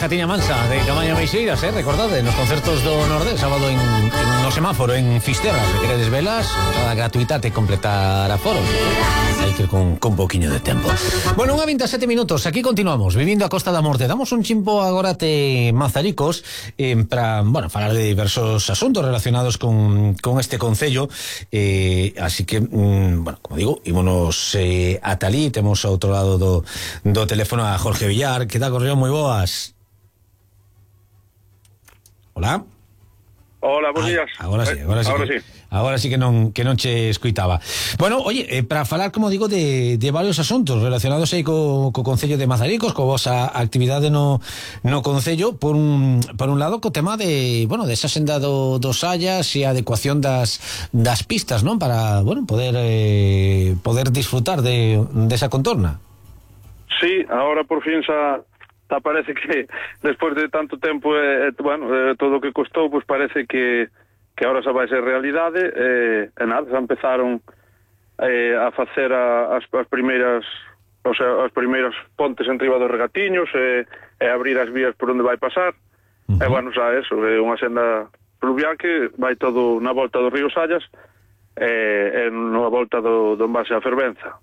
Jatiña Mansa de Camaño Meixeiras, recordade, nos concertos do Nordés, sábado no semáforo en Fisterra. Se queredes velas, entrada gratuita, te completar aforos. Hai que ir con poquinho de tempo. Bueno, 1:27 aquí continuamos, vivindo a Costa da Morte. Damos un chimpo agora te Mazaricos para, bueno, falar de diversos asuntos relacionados con este concello, así que, bueno, como digo, ímonos ata ali, temos ao outro lado do teléfono a Jorge Villar. Que tal, Correo? Moi boas. Hola. Hola, buenos días. Agora sí que non che escoitaba. Bueno, oye, para falar, como digo, de varios asuntos relacionados aí co Concello de Mazaricos, co vosa actividade no Concello, por un lado, co tema de, bueno, desa senda dos Sallas e a adecuación das pistas, non? Para, bueno, poder disfrutar desa contorna. Sí, ahora por fin xa parece que despois de tanto tempo, todo o que costou, pues parece que ahora xa vai ser realidade. Nada, xa empezaron a facer as primeiras, o sea, as primeiras pontes en riba dos regatiños, e abrir as vías por onde vai pasar. E bueno, xa eso, é unha senda fluvial que vai todo na volta do río Sallas, e na volta do envase a Fervenza,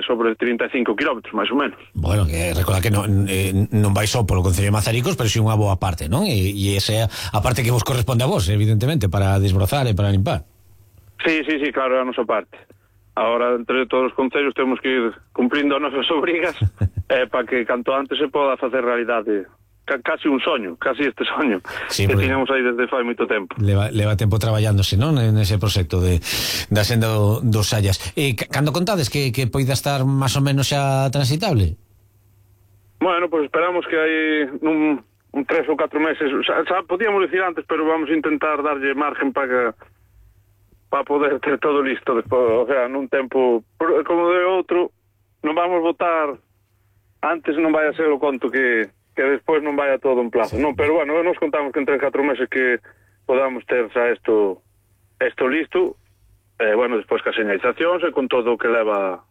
sobre 35 kilómetros, máis ou menos. Bueno, que recorda que non vai só polo Concello de Mazaricos, pero si unha boa parte, non? E esa é a parte que vos corresponde a vos, evidentemente, para desbrozar e para limpar. Sí, claro, é a nosa parte. Ahora, entre todos os concellos, temos que ir cumplindo as nosas obrigas para que canto antes se poda facer realidade. Casi un soño, casi este soño, sí, que tiñamos aí desde fai moito tempo. Leva tempo traballándose, non? Nese proxecto da senda dos Sallas. Cando contades que poida estar máis ou menos xa transitable? Bueno, pues esperamos que hai un 3 ou 4 meses, xa podíamos dicir antes, pero vamos a intentar darlle margen para poder ter todo listo despois, o sea, nun tempo como de outro, non vamos votar antes, non vai a ser o conto que despois non vai a todo en plazo, non, pero bueno, nos contamos que en 3 4 meses que podamos ter xa isto listo, bueno, despois que as señalizacións e con todo o que leva,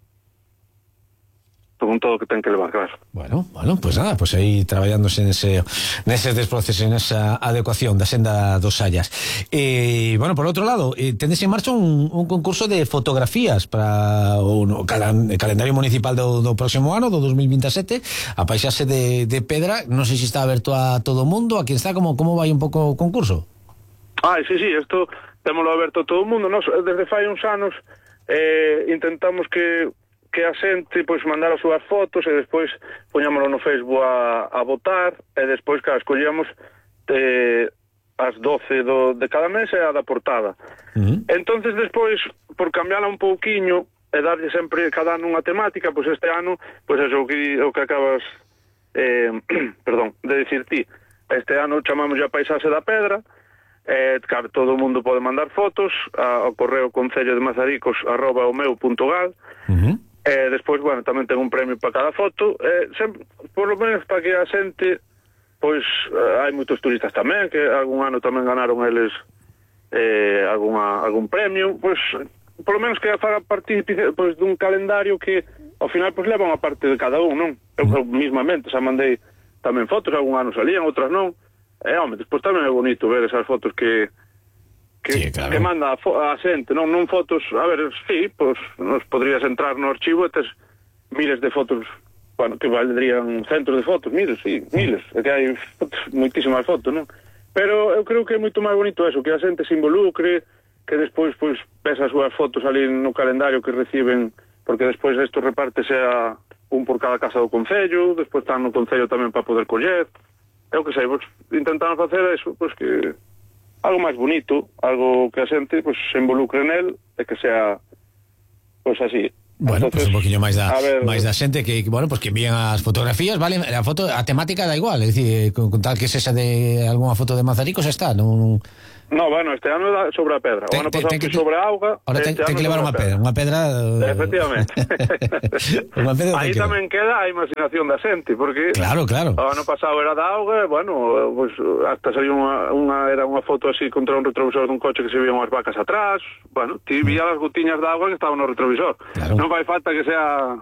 con todo o que ten que levar, claro. Bueno, pues nada, pues aí traballándose neses desprocesos, nesa adecuación da senda dos Sallas. Bueno, por outro lado, tendes en marcha un concurso de fotografías para o calendario municipal do próximo ano, do 2027, a paisaxe de Pedra. Non sei se está aberto a todo o mundo, a quen está, como vai un pouco o concurso? Sí, isto témolo aberto a todo o mundo. Nos, desde fai uns anos, intentamos que a xente pois mandar as súas fotos e despois poñámoslo no Facebook a votar, e despois que escollíamos as 12 de cada mes e a da portada. Entonces despois, por cambiarla un pouquiño e darlle sempre cada ano unha temática, pois este ano, pois é o que acabas de dicir ti. Este ano chamamos a paisaxe da Pedra. Claro, todo o mundo pode mandar fotos ao correo concellodeMazaricos@omeu.gal. Despois, bueno, tamén ten un premio para cada foto, sempre, por lo menos para que a xente, pois, hai moitos turistas tamén, que algún ano tamén ganaron eles algún premio, pois, por lo menos que faga partícipe, pois, dun calendario que, ao final, pois, leva unha parte de cada un, non? Eu mismamente, xa mandei tamén fotos, algún ano salían, outras non, despois tamén é bonito ver esas fotos que claro, que manda a xente, non fotos, a ver, sí, pois nos podrías entrar no archivo e tes miles de fotos, bueno, que valdrían centros de fotos, miles, é que hai moitísimas fotos, non? Pero eu creo que é moito máis bonito eso, que a xente se involucre, que despois, pois, ves as súas fotos ali no calendario que reciben, porque despois isto repártese a un por cada casa do concello, despois están no concello tamén para poder coller, eu que sei, pois, intentamos facer eso, pois que algo máis bonito, algo que a xente pues, se involucre nel e que sea pues así. Bueno, entonces, pues un poquinho máis da xente que, bueno, pues que envían as fotografías, vale, a temática da igual, é dicir, con tal que sexa de algunha foto de Mazaricos está, non... No, bueno, este ano é sobre a pedra. O ano pasado que sobre a auga. Ahora ten que levar unha pedra. Efectivamente. Aí tamén queda a imaginación da xente, porque claro. O ano pasado era da auga, bueno, pues hasta saliu era unha foto así contra un retrovisor dun coche que se vían unhas vacas atrás. Bueno, ti vías as gotiñas de auga que estaban no retrovisor. Claro. Non vai falta que sea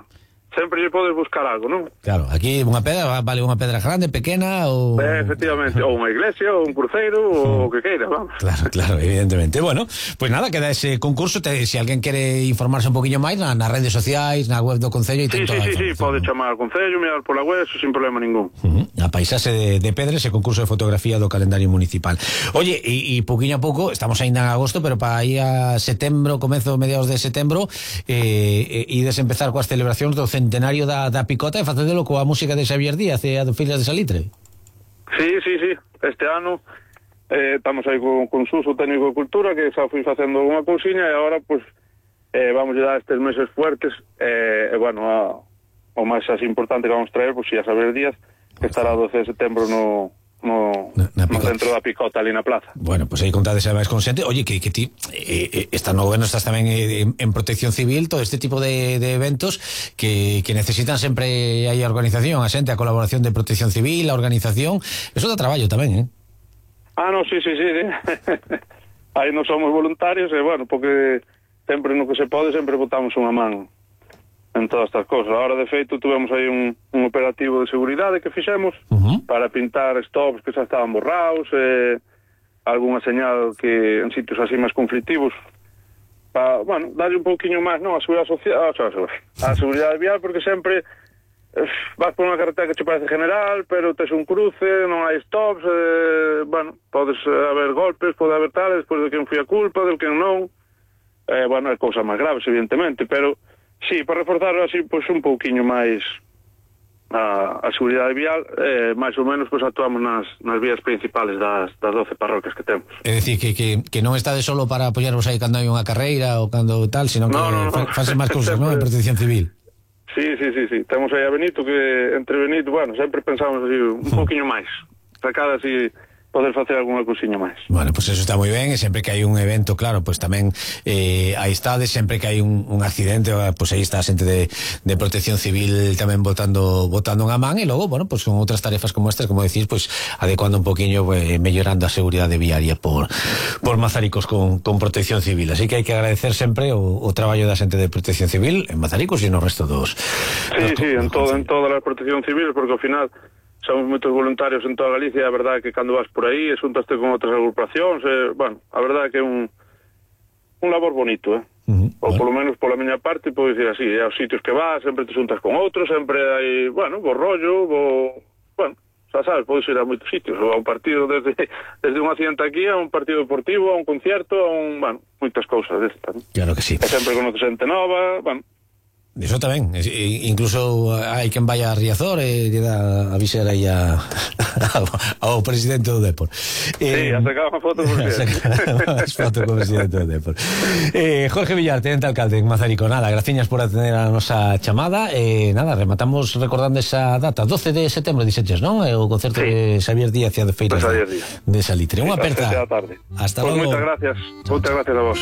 sempre lle podes buscar algo, non? Claro, aquí unha pedra vale unha pedra grande, pequena ou... Efectivamente, ou unha iglesia, ou un cruceiro, ou o que queira, vamos. Claro, evidentemente. Bueno, pues nada, queda ese concurso, se alguén quere informarse un poquinho máis nas redes sociais, na web do Concello e ten toda a información. Sí, pode chamar ao Concello, mirar pola web, eso sin problema ningún. A paisaxe de Pedres, ese concurso de fotografía do calendario municipal. Oye, e poquinho a pouco, estamos ainda en agosto, pero para aí a setembro, comezo mediados de setembro, ides empezar coas celebracións do centenario da Picota e facedelo coa música de Xavier Díaz e a do Fillas de Salitre. Sí. Este ano estamos aí con Suso, técnico de cultura, que xa fui facendo unha cousiña e agora, pues, vamos a dar estes meses fuertes, bueno, o máis así importante que vamos traer, pues, xa Xavier Díaz, que estará o 12 de setembro no centro da Picota, ali na plaza. Bueno, pues aí contades a máis con xente. Oye, que ti estás no goberno, estás tamén en protección civil, todo este tipo de eventos que necesitan sempre aí a organización, a xente, a colaboración de protección civil, a organización, eso dá traballo tamén, No, sí. Aí non somos voluntarios, bueno, porque sempre no que se pode, sempre botamos unha man en todas estas cosas. Ahora, de feito, tuvemos aí un operativo de seguridade que fixemos para pintar stops que xa estaban borrados, algunha señal que en sitios así máis conflictivos, para, bueno, darle un pouquiño máis, non, a seguridade social, a seguridade vial, porque sempre vas por unha carretera que che parece general, pero tes un cruce, non hai stops, bueno, podes haber golpes, pode haber tales, despois de quen foi a culpa, del quen non, bueno, hai cousas máis graves, evidentemente, pero sí, para reforzar así, pois, un pouquiño máis a seguridade vial, máis ou menos, pois, actuamos nas vías principales das 12 parroquias que temos. É dicir, que non estades solo para apoyarvos aí cando hai unha carreira ou cando tal, sino que fases máis cousas, non? En protección civil. Sí. Temos aí a Benito, que entre Benito, bueno, sempre pensamos así un pouquiño máis, para cada así poder facer algunha cousiña máis. Bueno, pues eso está moi ben, e sempre que hai un evento, claro, pues tamén aí estades, sempre que hai un accidente, pues aí está a xente de protección civil tamén botando unha man, e logo, bueno, pues con outras tarefas como estas, como decís, pues adecuando un poquinho, mellorando a seguridade viaria por Mazaricos con protección civil. Así que hai que agradecer sempre o traballo da xente de protección civil en Mazaricos e no resto dos... Sí, en todas as protección civiles, porque ao final somos moitos voluntarios en toda Galicia, e a verdade é que cando vas por aí, xuntaste con outras agrupacións, bueno, a verdade é que é un labor bonito, ou polo menos pola miña parte, podo dicir así, aos sitios que vas, sempre te xuntas con outros, sempre hai, bueno, bo rollo, bueno, xa sabes, podes ir a moitos sitios, ou a un partido desde un accidente aquí, a un partido deportivo, a un concierto, bueno, moitas cousas destas, ¿no? Claro que sí. E sempre conoces xente nova, bueno. Eso tamén, incluso hai quen vai a Riazor e lle dá a visar aí ao presidente do Depor. Sí, a sacar unha foto con o presidente do Depor. Jorge Villar, tenente alcalde en Mazarico, nada, graciñas por atender a nosa chamada, nada, rematamos recordando esa data, 12 de setembro, dixeches, non? O concerto de Xavier Díaz e a de Feiras de Salitre. Unha aperta. Hasta logo. Moitas gracias a vos.